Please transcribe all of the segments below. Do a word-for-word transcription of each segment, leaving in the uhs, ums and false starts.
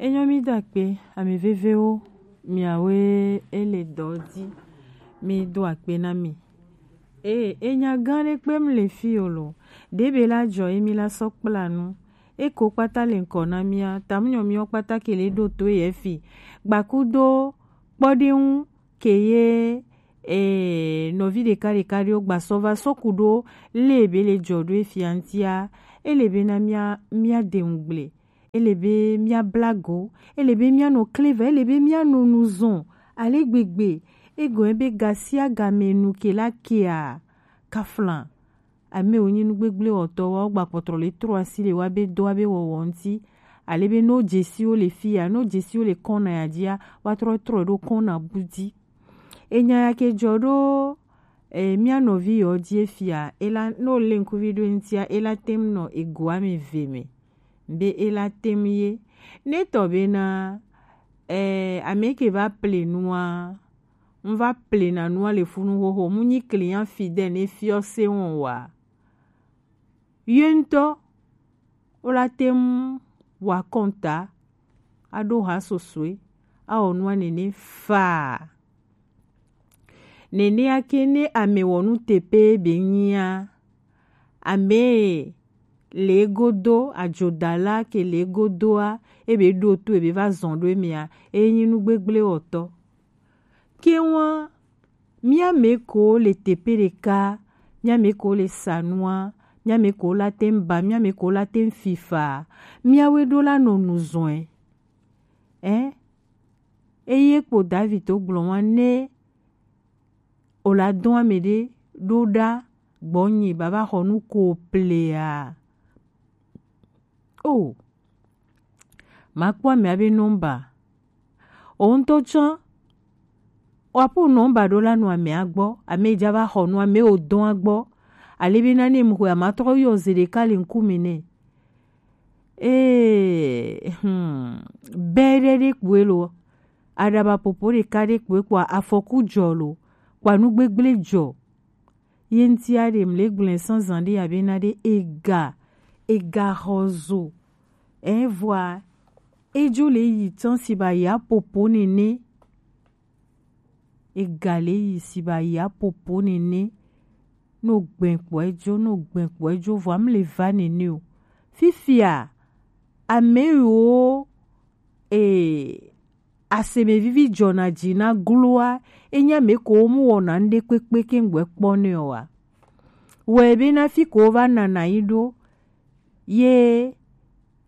Enyo mi do akpe, ami vevewo, miawe ele dɔ di, mi do akpe na mi. Ee, enya gã ɖe kpe mi le fi o lo. Ɖebe la jɔ ye mi la sɔ kpla nu. Eko kpata le ŋkɔ na mia, tamunyɔ miɔ kpata ke le ɖo to ye fi. Gbakudo kpɔɖeŋu ke ye ee, nɔvi ɖeka ɖeka ɖewo gbasɔ va sɔ ku ɖo le be le jɔ ɖo efia ŋutia, ele be na mia mia de ŋugble, ele be mia blago, ele be mia nɔ kleva, ele be mia nɔ nu zɔn ale gbegbe, egɔn be gasia game nu ke la kea kaflan. Ame wonyi nu gbegble wɔtɔ wa wo gba kpɔtrɔ le trɔ asi le wa be dɔ wa be wɔwɔ ŋuti. Ale be no jesiwo le fi ya, no jesiwo le kɔna ya dzia, wa trɔ trɔ ɖo kɔna bu di. Enya ya ke jɔ ɖo e, mia nɔvi yɔ dzi efia, ela no le ŋkuvi ɖo ŋutia, ela tem nɔ egoa me ve me. Be ela tem ye. Ne tɔ be na e, ame ke va ple nua, n va ple na nua le funu xoxo, mu nyi client fidèle ne fiɔ se wɔn wa. Ye ŋutɔ, wo la te ŋu wa kɔnta, aɖo ha sosoe, awɔ nua nene faa. Nenea ke ne ame wɔ nu tepe be nyia, ame le godo, adzodala ke le godoa, ebe ɖo to ebe va zɔn ɖo emea, enyi nu gbegble wɔtɔ. Ke ŋua, mía mɛ ko le teƒe ɖeka, mía mɛ ko le sa nua, mía mɛ ko la te ŋu ba, mía mɛ ko la te ŋu fifa, míawoe ɖo la nɔ nu zɔe. Ɛ? Eye kpo David to gblɔ wa ne o la dɔn ame ɖe ɖo ɖa gbɔnye baba xɔ nu ko plea. O, makpɔ amea be nɔmba. O ŋutɔ tsã, woaƒo nɔmba ɖo la nɔ amea gbɔ, ame dza va xɔ nu, ame wo dɔn agbɔ. Ale be nane mu xɔe, ama trɔ yɔ ze ɖeka le ŋkume nɛ. Ee, hmm, bɛ ɖe ɖe kpoe lo, aɖaba popo ɖeka ɖe kpoe kpoa, afɔku dzɔ lo, kpoa nu gbegble dzɔ. Ye ŋutia ɖe mle gblɔe sɔ zan ɖe abe na ɖe ega, ega xɔ zo. Ɛ vɔa, edzo le yi tsã si ba ya popo nene. Ega le yi si ba ya popo nene. No gbɛ kpɔ edzo, no gbɛ kpɔ edzo vɔa mle va nene o. Fifia, ame yiwo, e, aseme vivi dzɔna dzi na gloa, enye ame ko wo mu wɔna ŋɖe kpekpe ke ŋgbɛ kpɔ nɛ o wa. Wɔe be na fi ko wo va nana yi ɖo, ye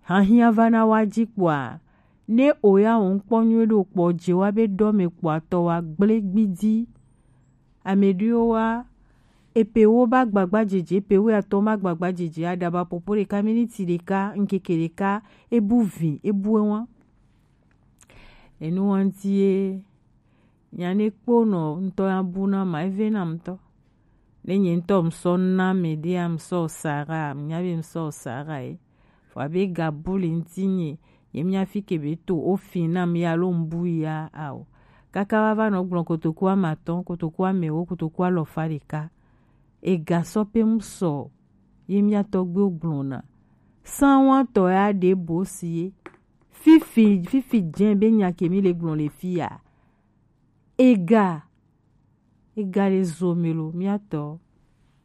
hahiã va na wa dzi kpoa, ne o ya o ŋkpɔ nyuie ɖo kpɔ dze wa be ɖɔ me kpoa tɔ wa gble gbidi. Ame ɖewo wa, epe wo ba gbagba dzedze, epe wo atɔ ma gbagba dzedze, aɖaba popo ɖeka, miniti ɖeka, ŋkeke ɖeka, ebu vi, ebu ewa. Enu wa ŋuti ye, nya ne kpo nɔ ŋutɔ ya bu na ma, eve na ŋutɔ. Ne nye ŋutɔ ŋsɔ na me ɖea, ŋsɔ Sara, nya be ŋsɔ Sara ye. Vɔ abe gabu le ŋuti nye, nye mía fi ke be to, o fi na mi alo ŋbu ya ao. Kaka wa va nɔ gblɔ kotoku amatɔn, kotoku amewo, kotoku alɔfa ɖeka. Ega sɔ pe ŋsɔ, ye mía tɔgbuiwo gblɔna. Sanwatɔ ya ɖe bo si ye. Fifi, fifi dze be nya ke mi le gblɔ le fi ya. Ega, ega le zo me lo, mía tɔ.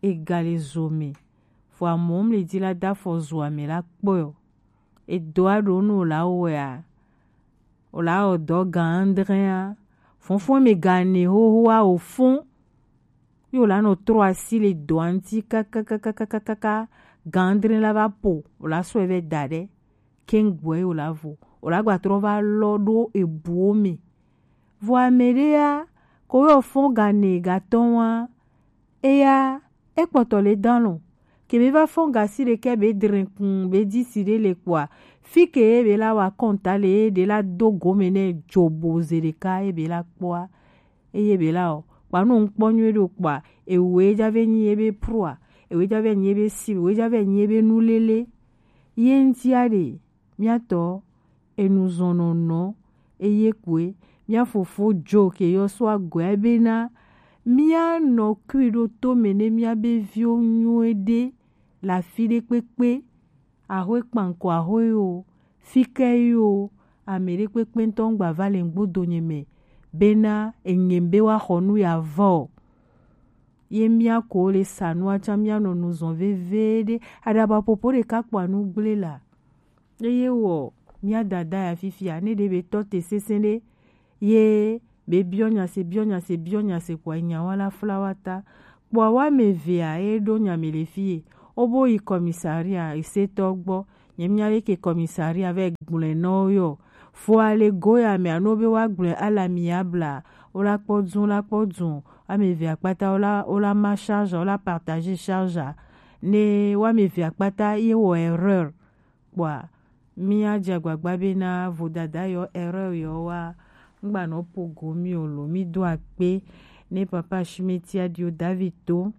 Ega le zo me. Vɔ amɔ mle di la da fɔ zo ame la kpɔ yo. Edo a ɖo no la wea. O la o dɔ gan andre a. Fɔnfɔn me gan ne ho ho a o fɔn. Yo la nɔ trɔ asi le dɔa ŋuti kakakakakaka, gandre la va po, o la sɔe vɛ da ɖe, keŋ gbɔe o la vo, o la gba trɔ va lɔ ɖo ebuwo me. Vɔ ame ɖe ya, ko yɔ fɔn gane gatɔ wa, eya, ekpɔtɔ le dan lɔ, ke be va fɔn gasi ɖe ke be dre kun, be di si ɖe le kpoa, fi ke ye be la wa kɔnta le ye ɖe la do gome nɛ dzobo ze ɖeka ye be la kpɔa, eye be la o, kpa no ŋkpɔ nyuie ɖo kpa, ewe dza ve nyi ebe proa, ewe dza ve nyi ebe si, ewe dza ve nyi ebe nulele. Ye ŋutia ɖe, mía tɔ, enu zɔnɔnɔ, eye koe, mía fofo jo ke yɔ so agɔe bena, mía nɔ kui ɖo to me ne mía be viwo nyuie ɖe, le afi ɖe kpekpe, ahoe kpankɔ ahoe yo, fike yo, Ame ɖekpekpe ŋutɔ ŋgba va le ŋgbodo nye me bena enye be woaxɔ nu ya vɔ o. Ye mía ko le sa nua tsã mía nɔ nu zɔn veveɖe. Aɖaba ƒoƒo ɖeka kpɔa nu gblẽ la. Eye wɔ mía dada ya fifia ne ɖe be tɔ te sesẽ ɖe ye be biɔ nya se biɔ nya se biɔ nya se kpɔa enya wa la fla wa ta. Kpɔa wa me vea ye ɖo nya me le fie. Wo bo yi commissariat esetɔ gbɔ. Nye mía leke commissariat vɛ gblɔe nɔ wo yɔ. Fo ale go ya me anu be wa gblɔe ala mi abla. Wo la kpɔ dun la kpɔ dun. Ame eve akpata wo la wo la ma charge wo la partager charge. Ne wa me eve akpata ye wɔ erreur. Kpɔa mía dze agbagba bena vodada yɔ erreur yɔ wa ŋgba nɔ po go mi o lo mi do akpe ne papa Shimeti Adio David to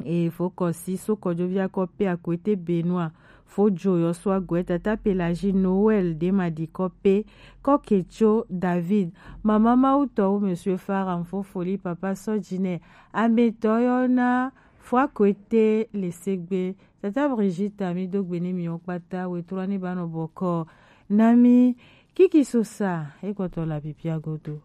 e fo kɔsi so kɔdzovi akɔ pe akwete benua fo dzo yɔ so agɔe tata Pelagie Noël de ma di kɔ pe kɔ ketso David mama mawu tɔ wo monsieur Faram fo foli papa sɔdzi nɛ ametɔ yɔ na fo akwete le segbe tata Brigitte mi do gbe ne mi wo kpata wetrɔ ne ba nɔ bɔkɔ na mi kiki sosa e kɔtɔ la pipia godo.